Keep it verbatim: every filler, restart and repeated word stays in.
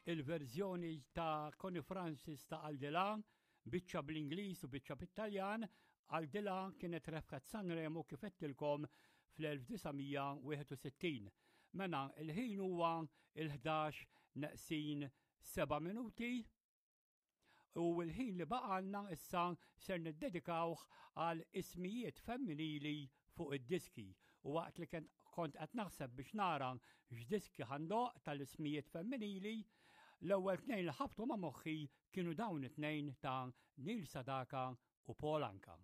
Il-verżjoni ta' Connie Francis ta' Aldilà, biċċa bl-Ingliż u biċċa bit-Taljan. Aldilà kienet rebħet Sanremo, kif għedtilkom, fl-elf disa' mija wieħed u sittin. Mela, il-ħin huwa il-ħdax neqsin seba' minuti u l-ħin li baqalna issa ser niddedikawh għal ismijiet femminili fuq id-diski, u waqt li kont qed naħseb biex nara x'diski ħa ndoqq tal-ismijiet femminili, l-ewwel tnejn li ħabtu ma' moħħi kienu dawn it-tnejn ta' Neil Sedaka u Paul Anka.